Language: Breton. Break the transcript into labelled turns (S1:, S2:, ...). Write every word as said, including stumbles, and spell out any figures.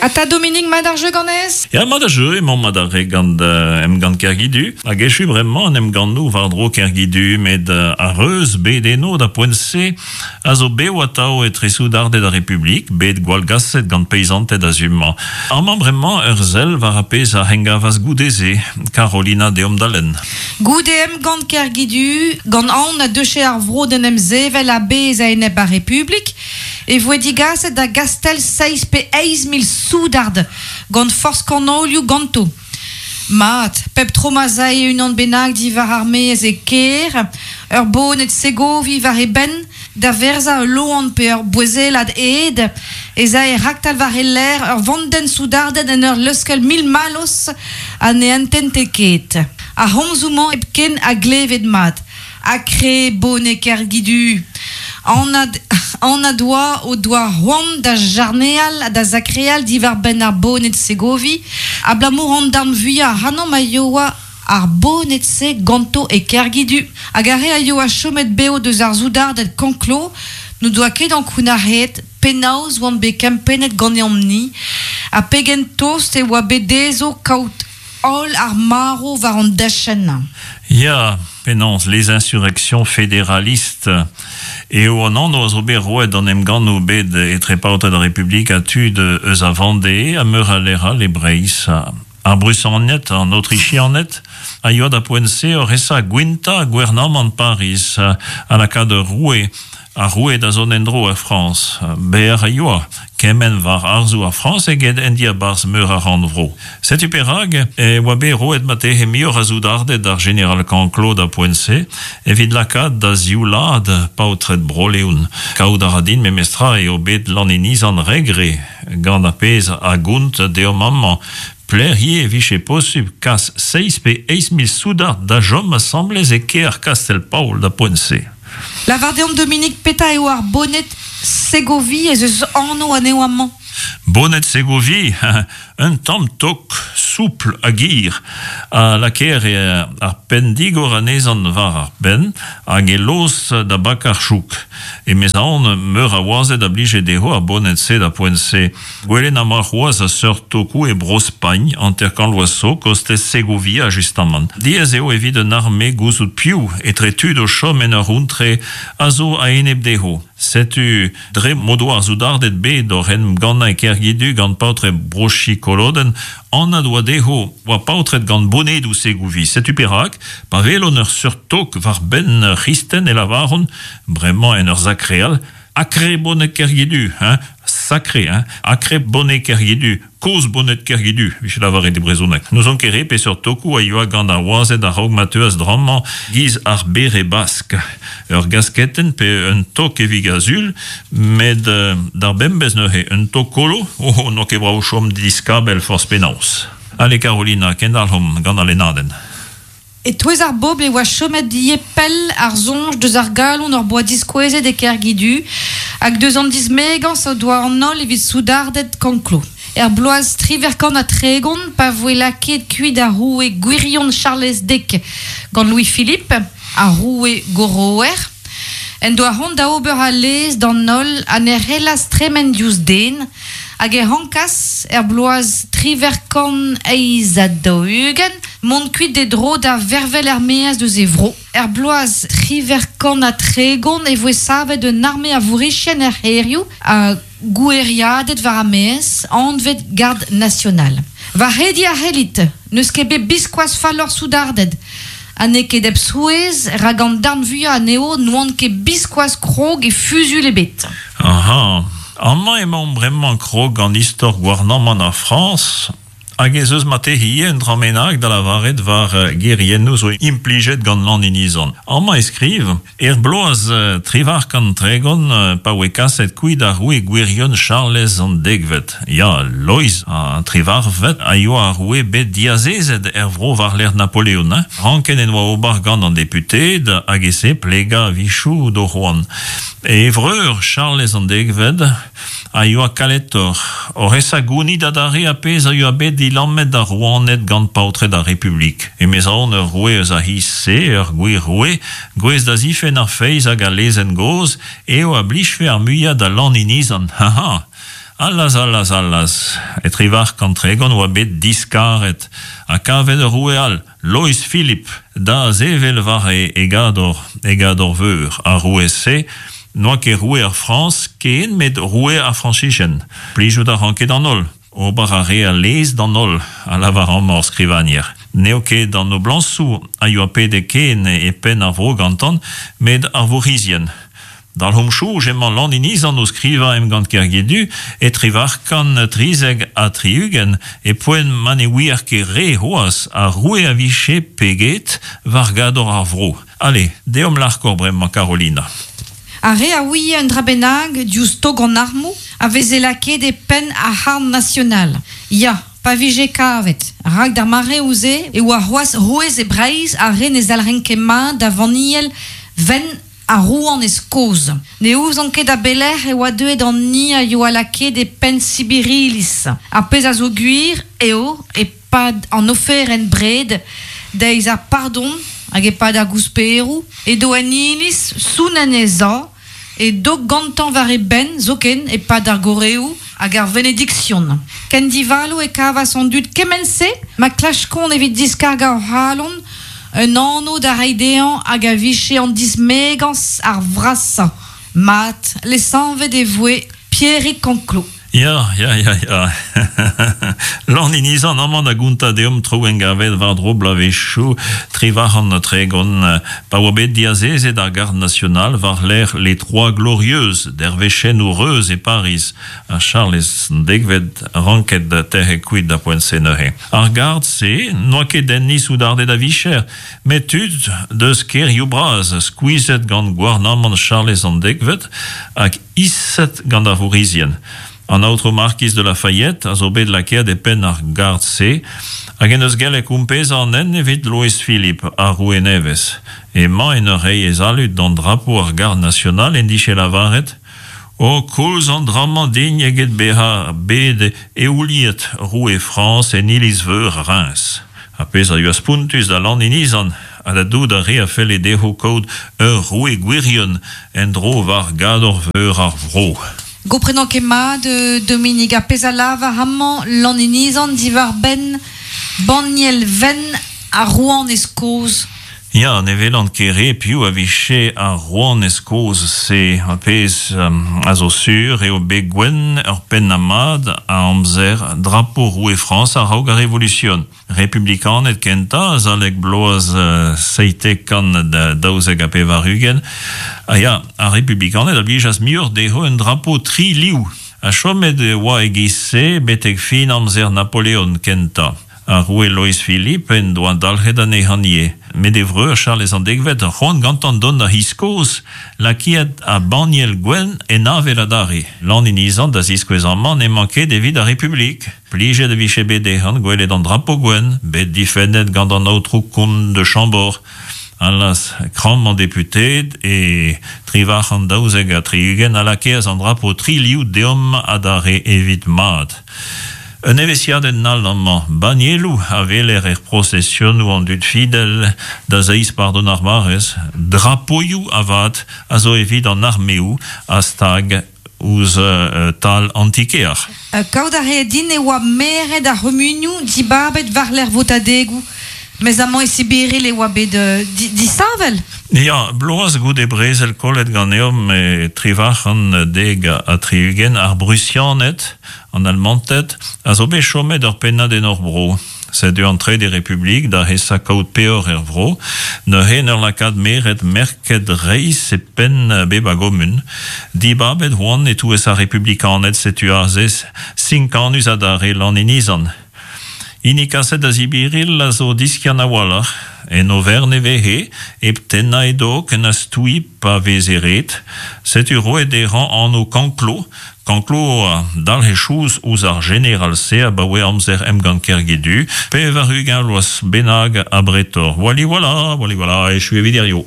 S1: Ata Dominik mat ar jeu ganez?
S2: Ya, mat ar jeu, emañ mat ar re gant uh, emgann Kergidu. Hag echu bremañ an emgannoù war-dro Kergidu, met uh, ar reuz bet eno da poent-se a zo bev atav etre soudarded ar Republik, bet gwallgaset gant peizanted a zumañ. Amañ bremañ ur sell war ar pezh a hengavas goude-se, Carolina deomp da lenn.
S1: Goude emgann Kergidu, gant aon a deuche ar vro d'en em sevel a-bezh a-enep ar Republik, e voe digaset da Gastel seizh pe eizh mil soudard gant forzh kanolioù ganto. Mat, pep tro ma 'z ae unan bennak diwar ar maez e kêr, ur boned Segovi war e benn, da verzañ ul loan pe ur bouezellad ed, ez ae raktal war e lerc'h ur vandenn soudarded en ur leuskel mil mallozh ha ne entente ket. Ar c'homzoù-mañ hepken a gleved mat. Akre boned Kergidu. Anat, anat oa o doa c'hoant da jarneal ha da sakreal diwar-benn ar boned Segovi, abalamour an darn vuiañ ac'hanomp a yoa ar boned-se ganto e Kergidu. Hag ar re a yoa chomet bev deus ar soudarded Canclaux n'o doa ket ankounac'haet penaos oant bet kempennet ganeomp-ni, ha pegen tost e oa bet dezho kaout holl ar marv war an dachenn.
S2: Ya, penaos les insurrections fédéralistes eo an anv a zo bet roet an emgannoù bet etre paotred ar Republik ha tud eus a Vendée ha meur a lec'h all e Breizh. Ar Brusianed, an Autrichianed, a yoa da poent-se oc'h esa gwintañ gouarnamant Pariz ha lakaat ur roue, ar roue da zont en-dro er Frañs. Bec'h a yoa, kement war harzoù ar Frañs eget en diabarzh meur a rannvro. Setu perak e oa bet roet marteze muioc'h a soudarded d'ar jeneral Canclaux da poent-se evit lakaat da zioulaat paotred Bro-Leon. Kaout a ra din memestra eo bet Lan Inizan regre gant ar pezh a gont deomp amañ. Pelec'h ivez e vije posupl kas seizh pe eizh mil soudard da chom asambles e kêr Kastell-Paol da poent-se.
S1: Lavar deomp Dominik petra eo ar boned Segovi ez eus anv anezho amañ.
S2: Boned Segovi, un tamm tok soupl hag hir a lakaer ar penn-digor anezhañ war ar penn hag e lost da bakañ ar chouk. E-maez meur a wazed a blije dezho ar boned-se da poent-se. Gwelet am boa c'hoazh a seurt tokoù e Bro-Spagn, hanter-kant vloaz zo, kostez Segovia justamant. Diaes eo evit un arme gouzout piv etre tud o chom en ur c'hontre a zo a-enep dezho. Setu dre m'o doa ar soudarded bet oc'h en em gannañ e Kergidu gant paotred Bro-Chikolodenn, anat oa dezho oa paotred gant bonedoù Segovi. Setu perak, pa welont ur seurt tok war benn ur c'hristen e lavaront, bremañ en ur sakreal, akre boned Kergidu, hein, sacré, hein, akre boned Kergidu, kozh boned Kergidu, vije lavaret e brezhoneg. N'ouzon ket re peseurt tokoù a yoa gant ar wazed a-raok ma teuas drammañ giz ar bere bask. Ur gasketenn pe un tok evit ar sul, met euh, d'ar bembez neuze un tok kolo, oh, oh, n'eo ket brav chom diskabell forzh penaos. Ale Carolina, kendalc'homp gant al lennadenn.
S1: E-touez ar bobl e oa chomet ivez pell ar soñj deus ar galon hor boa diskouezet e Kergidu hag deus an dismegañs o doa an holl evit soudarded Canclaux. Er bloaz triwec'h kant ha tregont pa voe lakaet kuit ar roue gwirion Charlez Dek gant Louis-Philippe, ar roue goroer, en doa c'hoant da ober al lez d'an holl ha ne c'hellas tremen diouzh den, hag e rankas er bloaz triwec'h kant eizh ha daou-ugent mont kuit d'e dro da vervel er-maez deus e vro. Er bloaz triwec'h kant ha tregont e voe savet un arme a vourc'hizien er c'hêrioù ha goueriaded war ar maez, anvet Garde nationale. Va c'hrediñ a c'hellit, n'eus ket bet biskoazh falloc'h soudarded. Ha n'eo ket hep souezh, rak an darn vuiañ anezho n'oant ket biskoazh krog e fuzuilh ebet.
S2: Aha, amañ emaomp bremañ krog gant istor gouarnamant ar Frañs, hag ez eus marteze ivez un dra bennak da lavaret war geriennoù zo implijet gant Lan Inizan. Amañ e skriv, er bloaz triwec'h kant tregont pa oe kaset kuit ar roue gwirion Charlez an dekvet. Ya, Loeiz an triwec'hvet a yoa ar roue bet diazezet er vro war-lerc'h Napoleon. Hein? Ranket en oa ober gant an deputeed hag e-se plegañ a-wechoù d'o c'hoant. E vreur Charlez an dekvet a yoa kaletoc'h. Oc'h esa gounit adarre ar pezh a yoa bet dilammet d'ar rouaned gant paotred ar Republik. E-maez ur roue eus ar c'hiz-se, ur gwir roue, gouest da zifenn ar feiz hag al lezenn gozh, eo a blijfe ar muiañ da Lan Inizan. Ha ha! Allaz, allaz, allaz, e trivar kantregon oa bet diskaret, ha kavet ur roue all, Lois Philippe, da zevel war e, e gador, e gador veur, ar roue-se, n'oa ket roue ar Frans ken met roue ar Frañsizien. Plijout a ran ket an holl. Ober a re a lez d'an holl, a lavar amañ ar skrivagner. N'eo ket an noblañsoù a yoa pede ken e penn ar vro gantan, met ar vourc'hizien. Dalc'homp soñj emañ Lan Inizan o skrivañ emgann Kergidu e trivarkan trizek ha tri-ugent e poent ma ne ouier ket re c'hoazh ar roue a vije peget war gador ar vro. Allez, deomp larkoc'h bremañ Carolina.
S1: Ar re a ouie un dra bennak diouzh tog an armoù a veze lakaet e penn ar C'harn National. Ya, pa vije kavet. Rak d'ar mareoù-se e oa c'hoazh rouez e Breizh ar re ne zalc'hent ket mat da vanniel wenn ar rouanez kozh. Ne ouzon ket a belec'h e oa deuet an ni a yoa lakaet e penn Sibirilis. Ar pezh a zo gwir eo e-pad an oferenn bred deiz ar pardon hag e-pad ar gousperoù edo en iliz sounn anezhañ e dog gantañ war e benn zoken e-pad ar goreoù hag ar venediksion. Ken divalo e kavas an dud kement-se ma klaskont evit diskargañ o c'halon un anv da reiñ dezhañ hag a vije an dismegañs ar vrasañ. Mat, lesanvet e voe Pierig Canclaux.
S2: Ya, ya, ya, ya. Lan Inizan amañ da gontañ deomp traoù engavet war-dro bloavezhioù trivarc'hant ha tregont pa oa bet diazezet ar Garde Nationale war-lerc'h les Trois Glorieuses dervezhennoù reuz e Pariz ha Charlez an dekvet ranket tec'het kuit da poent-se neuze. Ar Garde-se n'oa ket enni soudarded a vicher, met tud deus kêrioù bras skuizhet gant gouarnamant Charlez an dekvet hag iset gant ar vourc'hizien. An aotrou Markiz de Lafayette a zo bet lakaet e penn ar Garde-se hag en deus gellet kompezañ an hent evit Lois Philippe ar roue nevez. Emañ en ur reiñ e zalud d'an drapo ar Garde Nationale en dije lavaret O koulz an dra-mañ din eget bezañ bet eouliet roue Frañs en iliz-veur Reims. Ar pezh a yoa spontus da Lan Inizan ha da dout ar re a felle dezho kaout ur roue gwirion en-dro war gador-veur ar vro.
S1: Gomprenan ket mat, Dominig, ar pezh a lavar amañ Lan Inizan diwar-benn banniel wenn ar rouanez kozh.
S2: Ya, ne welan ket re piv a vije ar rouanez kozh-se. Ar pezh a zo sur eo bet gwenn ur pennad mat a amzer drapo roue Frañs a-raok ar Revolusion. Republikaned kentañ azalek bloaz seitek kant daouzek ha pevar-ugent. Ha ya, ar republikaned a blijas muioc'h dezho un drapo tri liv. Ha chomet e oa e-giz-se betek fin amzer Napoleon kentañ. Ar roue Lois Philippe en doa dalc'het anezhañ ivez. Met e vreur Charlez an dekvet c'hoant gantañ dont da c'hiz kozh, lakaet ar banniel gwenn en avel adarre. Lan Inizan da ziskouez amañ n'emañ ket evit ar Republik. Plijet e vije bet dezhañ gwelet an drapo gwenn, bet difennet gant an aotrou kont de Chambord. Allaz, kramm an deputeed e trivarc'h an daouzek ha tri-ugent a lakaas an drapo tri liv deomp adarre evit mat. Un evezhiadenn all amañ, bannieloù a weler er prosesionoù an dud fidel da zeiz pardon ar barrez, drapoioù avat a zo evit an armeoù a stag ouzh uh, tal an ti-kêr.
S1: Uh, kaout a reer din e oa meret ar c'humunioù dibabet war-lerc'h votadegoù. Mes amañ e Sibiril e oa bet uh, di disheñvel.
S2: Ya, bloaz goude brezel kollet ganeomp e trivarc'hant dek ha tri-ugent ar Brusianed, an Almanted, a zo bet chomet ur pennad en hor bro. Setu an Trede Republik da hesañ kaout peoc'h er vro, neuze en ur lakaat meret merket reizh e penn bep a gomun. Dibabet oant e-touez ar republikaned setu aze sinkanus adarre Lan Inizan. Hini kaset da Sibiril a zo diskiant a-walc'h, en overn e vehe, hep tennañ e dog na stouiñ pa veze ret. Setu roet dezhañ anv Canclaux. Canclaux a dalc'he chouz ouzh ar jeneral-se abaoe amzer emgann Kergidu, pevar-ugent vloaz bennak abretoc'h. Wali voilà, wali voilà, echu evit hiziv.